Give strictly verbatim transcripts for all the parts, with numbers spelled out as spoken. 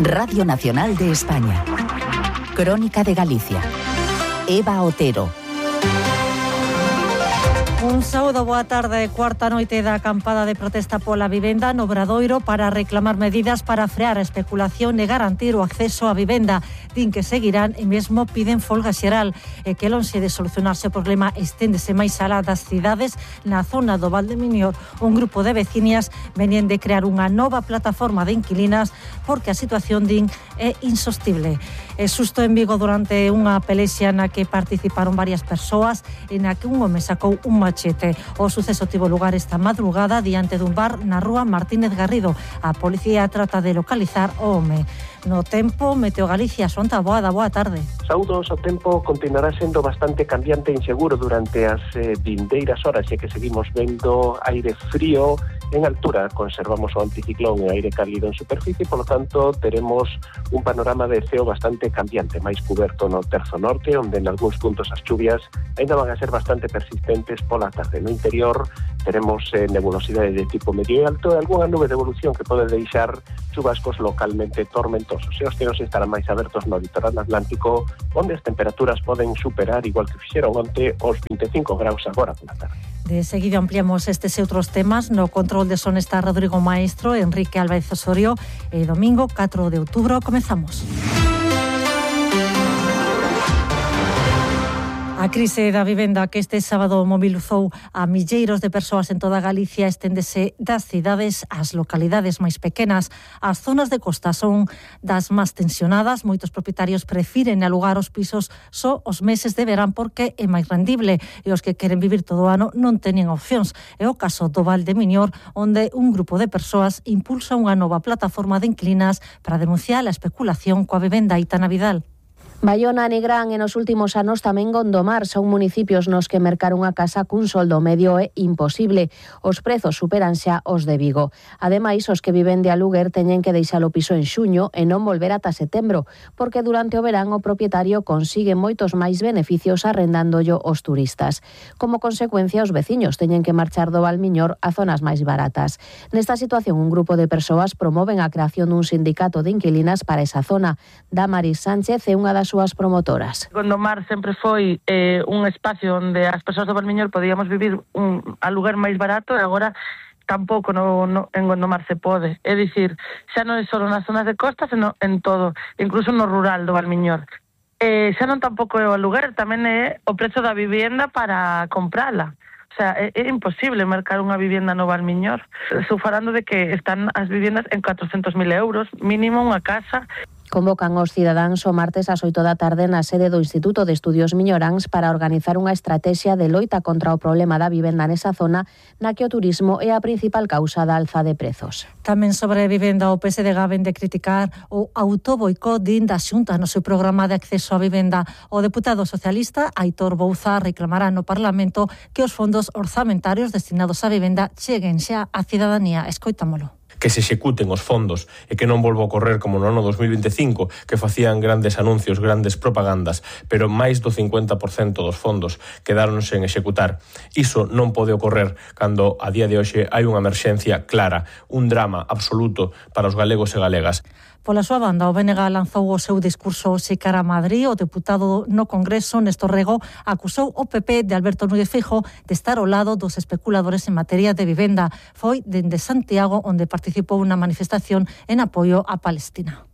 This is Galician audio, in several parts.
Radio Nacional de España. Crónica de Galicia. Eva Otero. Un saúdo, boa tarde. Cuarta noite da acampada de protesta pola vivenda no Obradoiro para reclamar medidas para frear a especulación e garantir o acceso á vivenda. Din que seguirán e mesmo piden folga xeral e que lonxe de solucionarse o problema esténdese máis alá das cidades. Na zona do Val de Miñor, un grupo de veciñas venían de crear unha nova plataforma de inquilinas porque a situación, din, é insostible. É susto en Vigo durante unha pelexia na que participaron varias persoas e na que un home sacou un machete. O suceso tivo lugar esta madrugada diante dun bar na rúa Martínez Garrido. A policía trata de localizar o home. No tempo, Meteo Galicia, Sonta Boada, boa tarde. Saúdos, o tempo continuará sendo bastante cambiante e inseguro durante as eh, vindeiras horas, e que seguimos vendo aire frío en altura. Conservamos o anticiclón e aire cálido en superficie, polo tanto, teremos un panorama de ceo bastante cambiante, máis cuberto no terzo norte, onde en algúns puntos as chuvias ainda van a ser bastante persistentes pola tarde. No interior teremos eh, nebulosidade de tipo medio e alto e algunha nube de evolución que pode deixar chubascos localmente tormentosos. E os ceos estarán máis abertos no litoral atlántico, onde as temperaturas poden superar, igual que fixeron onte, os vinte e cinco graus agora pola tarde. De seguido ampliamos estes e outros temas. No control de son está Rodrigo Maestro, Enrique Álvarez Osorio e domingo catro de outubro comezamos. A crise da vivenda que este sábado mobilizou a milleiros de persoas en toda Galicia esténdese das cidades ás localidades máis pequenas. As zonas de costa son das máis tensionadas. Moitos propietarios prefiren alugar os pisos só os meses de verán porque é máis rendible e os que queren vivir todo o ano non teñen opcións. É o caso do Val de Miñor, onde un grupo de persoas impulsa unha nova plataforma de inquilinas para denunciar a especulación coa vivenda. Aitana Vidal. Baiona e Nigrán e nos últimos anos tamén Gondomar son municipios nos que mercar unha casa cun soldo medio é imposible. Os prezos superan xa os de Vigo. Ademais, os que viven de aluguer teñen que deixar o piso en xuño e non volver ata setembro, porque durante o verán o propietario consigue moitos máis beneficios arrendándollo aos turistas. Como consecuencia, os veciños teñen que marchar do Valmiñor a zonas máis baratas. Nesta situación, un grupo de persoas promoven a creación dun sindicato de inquilinas para esa zona. Damaris Sánchez é unha das súas promotoras. Gondomar sempre foi eh, un espacio onde as persoas do Valmiñor podíamos vivir un aluguer máis barato e agora tampouco no, no, en Gondomar se pode. É dicir, xa non é só nas zonas de costa, senón en todo, incluso no rural do Valmiñor. Eh, xa non tampouco é o aluguer, tamén é o prezo da vivienda para comprala. O sea, é, é imposible mercar unha vivienda no Valmiñor. Estou falando de que están as viviendas en catrocentos mil euros, mínimo unha casa. Convocan os cidadáns o martes ás oito da tarde na sede do Instituto de Estudios Miñoráns para organizar unha estrategia de loita contra o problema da vivenda nesa zona na que o turismo é a principal causa da alza de prezos. Tamén sobre vivenda, o P S D G ven de criticar o autoboicot din da Xunta no seu programa de acceso á vivenda. O deputado socialista Aitor Bouza reclamará no Parlamento que os fondos orzamentarios destinados á vivenda cheguen xa á cidadanía. Escoitámolo. Que se executen os fondos e que non volva a ocorrer como no ano dos mil veinticinco, que facían grandes anuncios, grandes propagandas, pero máis do cincuenta por cento dos fondos quedaron sen executar. Iso non pode ocorrer cando a día de hoxe hai unha emerxencia clara, un drama absoluto para os galegos e galegas. Pola súa banda, o B N G lanzou o seu discurso hoxe cara a Madrid. O deputado no Congreso, Néstor Rego, acusou o P P de Alberto Núñez Feijóo de estar ao lado dos especuladores en materia de vivenda. Foi dende Santiago onde participou unha manifestación en apoio a Palestina.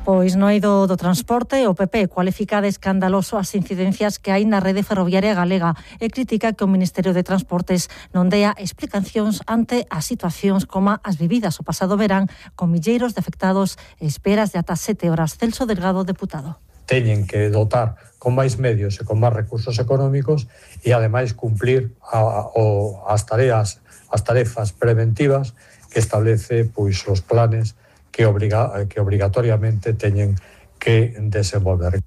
Pois no eido do transporte, o P P cualifica de escandaloso as incidencias que hai na rede ferroviaria galega e critica que o Ministerio de Transportes non dea explicacións ante as situacións como as vividas o pasado verán con milleiros de afectados e esperas de ata sete horas. Celso Delgado, deputado. Teñen que dotar con máis medios e con máis recursos económicos e ademais cumplir a, o, as tareas, as tarefas preventivas que establece pois os planes que, obriga, que obrigatoriamente teñen que desenvolver.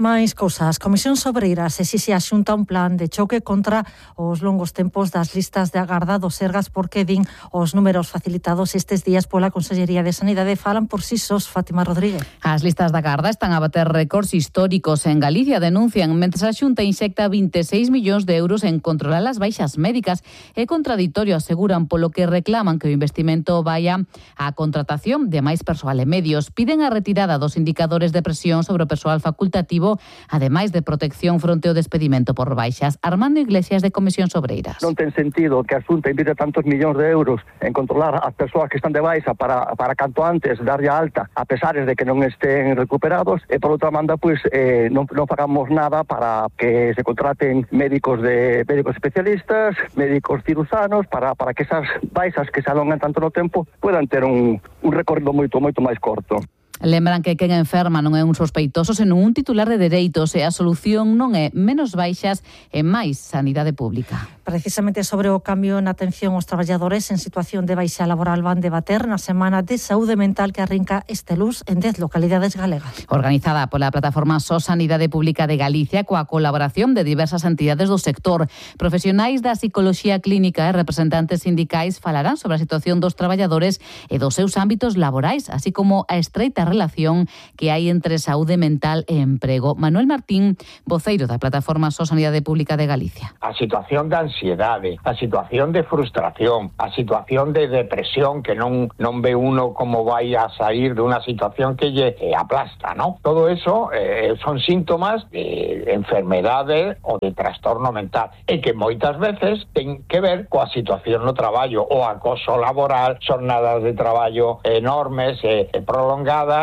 Máis cousas. Comisión Sobreiras exixe a Xunta un plan de choque contra os longos tempos das listas de agarda dos Sergas, porque din os números facilitados estes días pola Consellería de Sanidade falan por si sós. Fátima Rodríguez. As listas de agarda están a bater récords históricos en Galicia, denuncian, mentres a Xunta inxecta vinte e seis millóns de euros en controlar as baixas médicas. É contradictorio, aseguran, polo que reclaman que o investimento vaya á contratación de máis persoal e medios. Piden a retirada dos indicadores de presión sobre o persoal facultativo, ademais de protección fronte ao despedimento por baixas. Armando Iglesias, de Comisión Sobreiras. Non ten sentido que a Xunta invite tantos millóns de euros en controlar as persoas que están de baixa para, para canto antes darlle alta, a pesares de que non estén recuperados, e por outra banda, pois, eh, non, non pagamos nada para que se contraten médicos de médicos especialistas, médicos cirusanos, para, para que esas baixas que se alongan tanto no tempo puedan ter un, un recorrido moito, moito máis corto. Lembran que quen enferma non é un sospeitoso, senón un titular de dereitos, e a solución non é menos baixas e máis sanidade pública. Precisamente sobre o cambio na atención aos traballadores en situación de baixa laboral van debater na Semana de Saúde Mental que arrinca este luz en dez localidades galegas. Organizada pola plataforma S O S Sanidade Pública de Galicia, coa colaboración de diversas entidades do sector. Profesionais da psicoloxía clínica e representantes sindicais falarán sobre a situación dos traballadores e dos seus ámbitos laborais, así como a estreita relación que hai entre saúde mental e emprego. Manuel Martín, voceiro da plataforma S O S Sanidade Pública de Galicia. A situación de ansiedade, a situación de frustración, a situación de depresión, que non non ve uno como vai a sair de unha situación que lle aplasta, ¿no? Todo eso eh, son síntomas de enfermedade ou de trastorno mental, e que moitas veces ten que ver coa situación no traballo, o acoso laboral, xornadas de traballo enormes e prolongadas,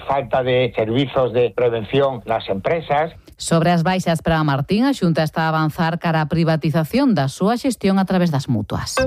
falta de servizos de prevención nas empresas. Sobre as baixas para Martín, a Xunta está a avanzar cara a privatización da súa xestión a través das mutuas.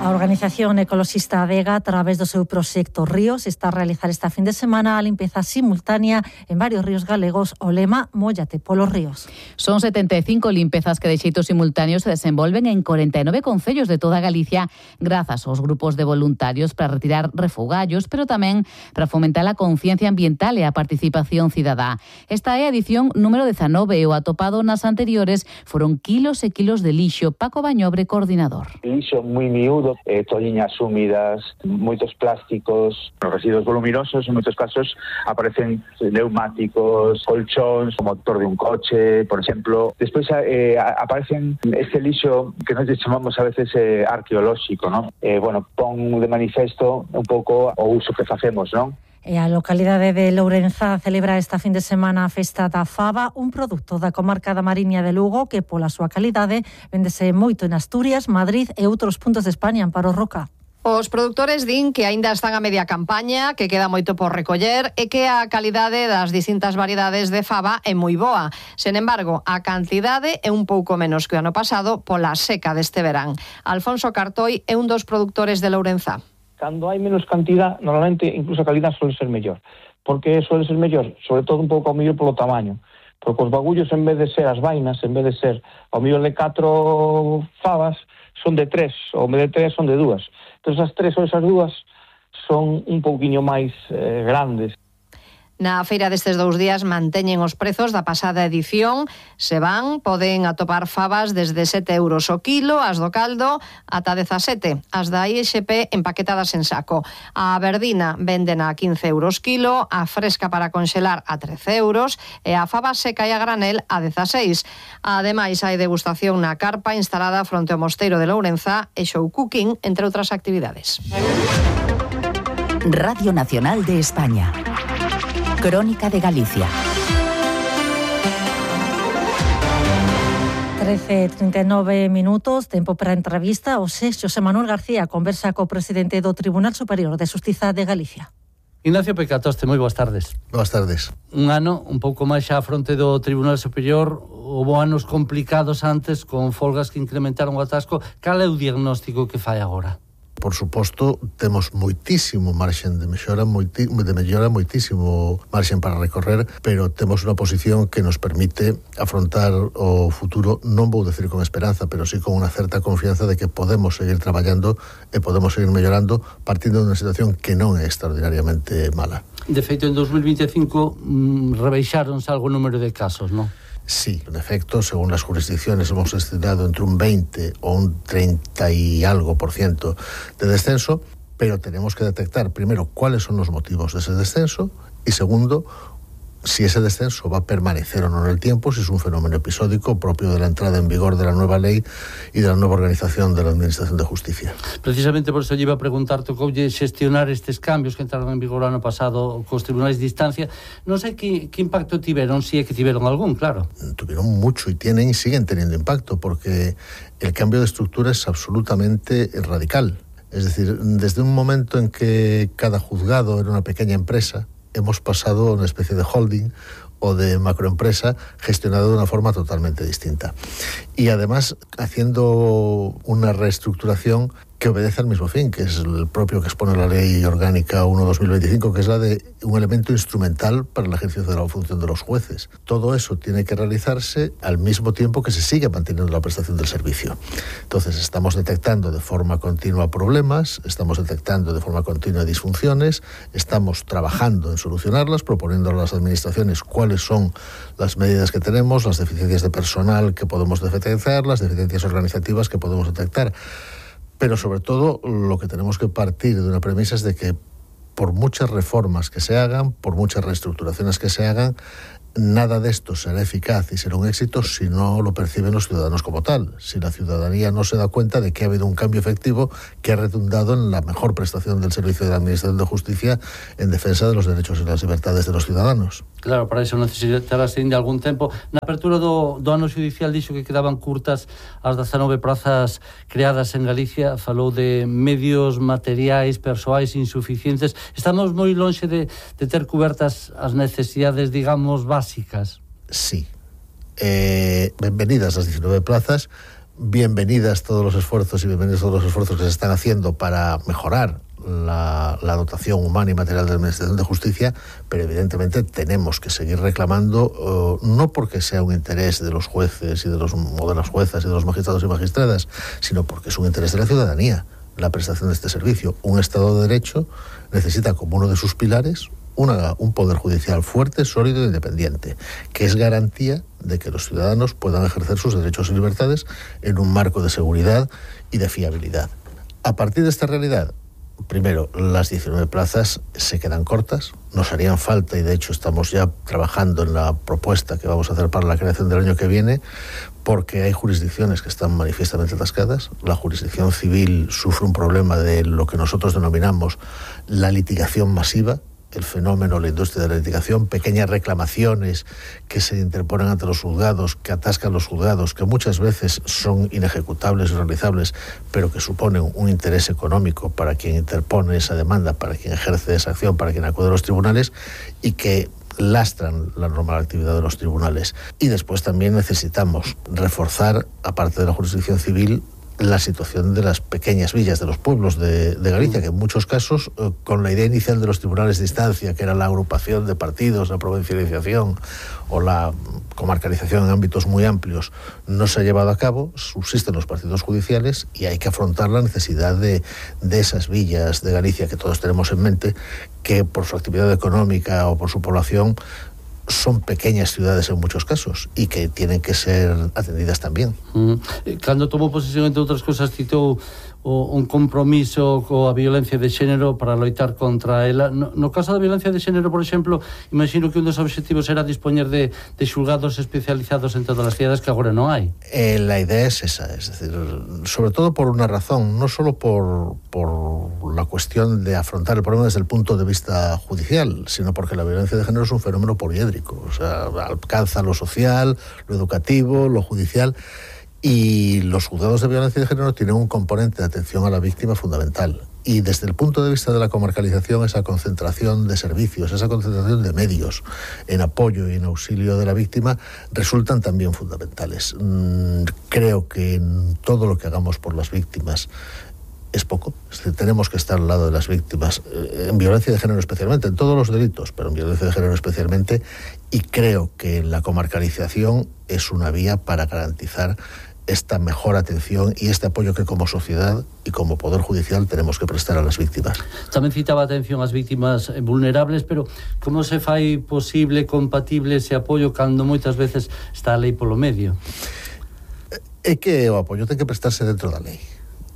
A organización ecoloxista Adega, a través do seu proxecto Ríos, está a realizar esta fin de semana a limpeza simultánea en varios ríos galegos, o lema Móllate polos ríos. Son setenta e cinco limpezas que de xeito simultáneo se desenvolven en corenta e nove concellos de toda Galicia, grazas aos grupos de voluntarios para retirar refugallos, pero tamén para fomentar a conciencia ambiental e a participación cidadá. Esta é a edición número dezanove e o atopado nas anteriores foron kilos e kilos de lixo. Paco Bañobre, coordinador. Lixo moi miúdo, Eh, tolliñas húmidas, moitos plásticos, os residuos voluminosos, en moitos casos aparecen neumáticos, colchóns, o motor de un coche, por exemplo. Despois eh, aparecen este lixo que nos chamamos a veces eh, arqueolóxico, ¿no? Eh, bueno, pon de manifesto un pouco o uso que facemos, ¿no? E a localidade de Lourenzá celebra esta fin de semana a festa da fava, un produto da comarca da Mariña de Lugo que, pola súa calidade, véndese moito en Asturias, Madrid e outros puntos de España. Amparo Roca. Os produtores din que aínda están a media campaña, que queda moito por recoller e que a calidade das distintas variedades de fava é moi boa. Sen embargo, a cantidade é un pouco menos que o ano pasado pola seca deste verán. Alfonso Cartoi é un dos produtores de Lourenzá. Cando hai menos cantidad, normalmente incluso a calidad suele ser mellor. Por que suele ser mellor? Sobre todo un pouco ao mellor polo tamaño. Porque os bagullos, en vez de ser as vainas, en vez de ser ao mellor de catro favas, son de tres, ou en vez de tres son de dúas. Entón, as tres ou esas dúas son un pouquiño máis eh, grandes. Na feira destes dous días manteñen os prezos da pasada edición. Se van, poden atopar favas desde sete euros o kilo, as do caldo ata dezasete, as da I X P empaquetadas en saco. A verdina venden a quince euros kilo, a fresca para conxelar a trece euros e a fava seca e a granel a dezaseis. Ademais, hai degustación na carpa instalada fronte ao Mosteiro de Lourenzá e show cooking, entre outras actividades. Radio Nacional de España. Crónica de Galicia. trece e trinta e nove minutos, tempo para a entrevista. O seis, José Manuel García conversa co presidente do Tribunal Superior de Xustiza de Galicia. Ignacio Pecatoste, moi boas tardes. Boas tardes. Un ano, un pouco máis xa a fronte do Tribunal Superior, houve anos complicados antes, con folgas que incrementaron o atasco. Cal é o diagnóstico que fai agora? Por suposto, temos moitísimo marxen de mellora, moiti, de mellora, moitísimo marxen para recorrer, pero temos unha posición que nos permite afrontar o futuro, non vou decir con esperanza, pero sí con unha certa confianza de que podemos seguir traballando e podemos seguir mellorando partindo de unha situación que non é extraordinariamente mala. De feito, en dos mil vinte e cinco mmm, rebeixáronse algo o número de casos, non? Sí, en efecto, según las jurisdicciones hemos estimado entre un veinte o un treinta y algo por ciento de descenso, pero tenemos que detectar primero cuáles son los motivos de ese descenso y segundo, si ese descenso va a permanecer o no en el tiempo, si es un fenómeno episódico propio de la entrada en vigor de la nueva ley y de la nueva organización de la Administración de Justicia. Precisamente por eso yo iba a preguntarte cómo gestionar estos cambios que entraron en vigor el año pasado con los tribunales de instancia. No sé qué, qué impacto tuvieron, si es que tuvieron algún, claro. Tuvieron mucho y tienen y siguen teniendo impacto porque el cambio de estructura es absolutamente radical. Es decir, desde un momento en que cada juzgado era una pequeña empresa, hemos pasado a una especie de holding o de macroempresa gestionada de una forma totalmente distinta. Y además haciendo una reestructuración que obedece al mismo fin, que es el propio que expone la Ley Orgánica uno barra dos mil veinticinco, que es la de un elemento instrumental para el ejercicio de la función de los jueces. Todo eso tiene que realizarse al mismo tiempo que se sigue manteniendo la prestación del servicio. Entonces, estamos detectando de forma continua problemas, estamos detectando de forma continua disfunciones, estamos trabajando en solucionarlas, proponiendo a las administraciones cuáles son las medidas que tenemos, las deficiencias de personal que podemos detectar, las deficiencias organizativas que podemos detectar. Pero sobre todo lo que tenemos que partir de una premisa es de que por muchas reformas que se hagan, por muchas reestructuraciones que se hagan, nada de esto será eficaz y será un éxito si no lo perciben los ciudadanos como tal, si la ciudadanía no se da cuenta de que ha habido un cambio efectivo que ha redundado en la mejor prestación del servicio de la Administración de Justicia en defensa de los derechos y las libertades de los ciudadanos. Claro, para eso necesitarás de algún tempo. Na apertura do, do ano judicial dixo que quedaban curtas as dezanove prazas creadas en Galicia, falou de medios materiais, persoais insuficientes. Estamos moi lonxe de, de ter cubertas as necesidades, digamos, básicas. Sí. Eh, bienvenidas las diecinueve plazas, bienvenidas todos los esfuerzos y bienvenidos todos los esfuerzos que se están haciendo para mejorar La, la dotación humana y material de la Administración de Justicia, pero evidentemente tenemos que seguir reclamando, uh, no porque sea un interés de los jueces y de, los, o de las juezas y de los magistrados y magistradas, sino porque es un interés de la ciudadanía la prestación de este servicio. Un Estado de Derecho necesita como uno de sus pilares una, un poder judicial fuerte, sólido e independiente, que es garantía de que los ciudadanos puedan ejercer sus derechos y libertades en un marco de seguridad y de fiabilidad. A partir de esta realidad, primero, las diecinueve plazas se quedan cortas, nos harían falta y de hecho estamos ya trabajando en la propuesta que vamos a hacer para la creación del año que viene, porque hay jurisdicciones que están manifiestamente atascadas. La jurisdicción civil sufre un problema de lo que nosotros denominamos la litigación masiva, el fenómeno, la industria de la litigación, pequeñas reclamaciones que se interponen ante los juzgados, que atascan los juzgados, que muchas veces son inejecutables y realizables, pero que suponen un interés económico para quien interpone esa demanda, para quien ejerce esa acción, para quien acude a los tribunales y que lastran la normal actividad de los tribunales. Y después también necesitamos reforzar, aparte de la jurisdicción civil, la situación de las pequeñas villas, de los pueblos de, de Galicia, que en muchos casos, eh, con la idea inicial de los tribunales de instancia, que era la agrupación de partidos, la provincialización o la comarcalización en ámbitos muy amplios, no se ha llevado a cabo. Subsisten los partidos judiciales y hay que afrontar la necesidad de, de esas villas de Galicia que todos tenemos en mente, que por su actividad económica o por su población son pequeñas ciudades en muchos casos y que tienen que ser atendidas también. Mm. Cando tomou posesión, entre outras cosas, citou o, un compromiso coa violencia de xénero para loitar contra ela. No, no caso da violencia de xénero, por exemplo, imagino que un dos objetivos era dispoñer de, de xulgados especializados en todas as cidades que agora non hai. Eh, la idea es esa, es decir, sobre todo por una razón, no solo por, por la cuestión de afrontar el problema desde el punto de vista judicial, sino porque la violencia de género es un fenómeno poliédrico, o sea, alcanza lo social, lo educativo, lo judicial. Y los juzgados de violencia de género tienen un componente de atención a la víctima fundamental. Y desde el punto de vista de la comarcalización, esa concentración de servicios, esa concentración de medios en apoyo y en auxilio de la víctima resultan también fundamentales. Creo que en todo lo que hagamos por las víctimas es poco. Es decir, tenemos que estar al lado de las víctimas, eh, en violencia de género especialmente, en todos los delitos, pero en violencia de género especialmente, y creo que la comarcalización es una vía para garantizar esta mejor atención y este apoyo que como sociedad y como Poder Judicial tenemos que prestar a las víctimas. Tamén citaba atención ás víctimas vulnerables, pero como se fai posible, compatible ese apoio cando moitas veces está a lei polo medio? É que o apoio ten que prestarse dentro da lei.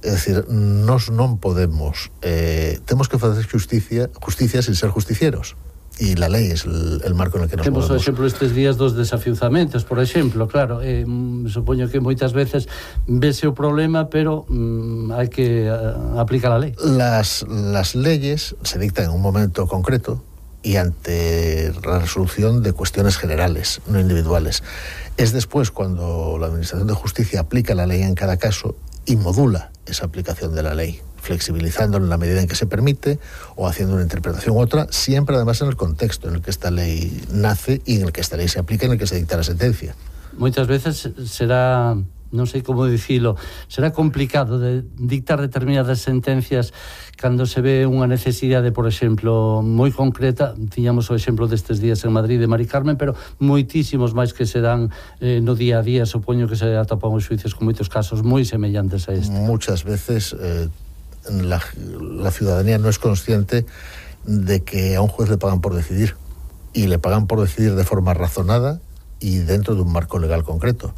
É dicir, nós non podemos, eh, temos que facer justicia, justicia sin ser justicieros. E la lei é el, el marco en el que nos Temos movemos. o exemplo estes días dos desafiuzamentos, por exemplo, claro, eh, supoño que moitas veces vese o problema, pero mm, hai que uh, aplicar a lei. Las, las leyes se dictan en un momento concreto y ante la resolución de cuestiones generales, no individuales. Es después cuando la Administración de Justicia aplica la ley en cada caso y modula esa aplicación de la ley, flexibilizándola en la medida en que se permite o haciendo una interpretación u otra, siempre además en el contexto en el que esta ley nace y en el que esta ley se aplica, en el que se dicta la sentencia. Moitas veces será, non sei como dicilo, será complicado de dictar determinadas sentencias cando se ve unha necesidade, por exemplo, moi concreta. Tiñamos o exemplo destes días en Madrid de Mari Carmen, pero moitísimos máis que se dan eh, no día a día. Supoño que se atopan os xuicios con moitos casos moi semellantes a este. Muchas veces eh, la, la ciudadanía no es consciente de que a un juez le pagan por decidir, y le pagan por decidir de forma razonada y dentro de un marco legal concreto.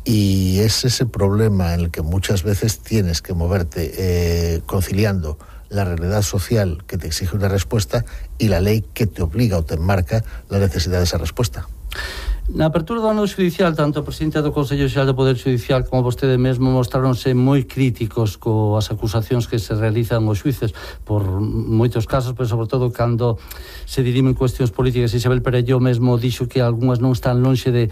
Y es ese problema en el que muchas veces tienes que moverte eh, conciliando la realidad social que te exige una respuesta y la ley que te obliga o te enmarca la necesidad de esa respuesta. Na apertura do ano judicial, tanto o presidente do Consello Xeral do Poder Judicial como vostede mesmo mostráronse moi críticos coas acusacións que se realizan aos xuíces por moitos casos, pero sobre todo cando se dirimen cuestións políticas. Isabel Perelló mesmo dixo que algunhas non están lonxe de